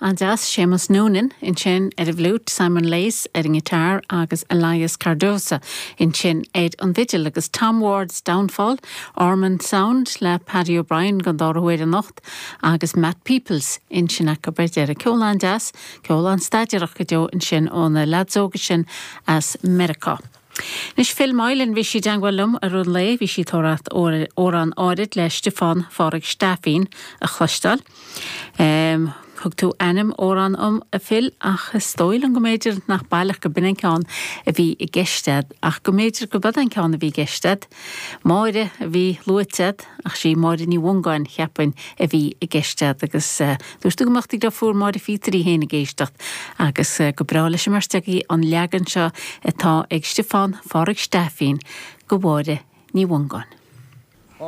An-deas, Séamus Noonan ansin ar an bhfliúit, Simon Lace ar an ngiotár agus Elias Cardoza ansin ar an bhfidil agus Tom Ward's Downfall, Ormonde Sound le Paddy O'Brien don dara huair anocht agus Matt Peoples ansin acu ar deireadh. Ceol an-deas, ceol an-staidéarach go deo ansin ó na leaids óga sin as Meiriceá. Anois Phil Moylan, bhí sí i dteangmháil liom i rith an lae, bhí sí ag tóraíocht amhrán áirid le Stiofán Phádraig Steifín a chloisteáil. Thug tú ainm amhrán dom, a Phil, ach is dóigh liom go mb'fhéidir nach baileach go b'in an ceann a bhí i gceist a'd, ach go mb'fhéidir go b'ead an ceann a bhí i gceist a'd. Máire a bhí luaite a'd, ach sí Máire Ní Mhongáin, cheapfainn, a bhí i gceist a'd agus dúirt tú go mbeadh do dhriofúr Máire Phíotair í féin ag éisteacht agus go breá leis an mbeirt agaibh an leagan seo atá ag Stiofán Phádraig Steifín go Mháire Ní Mhongáin.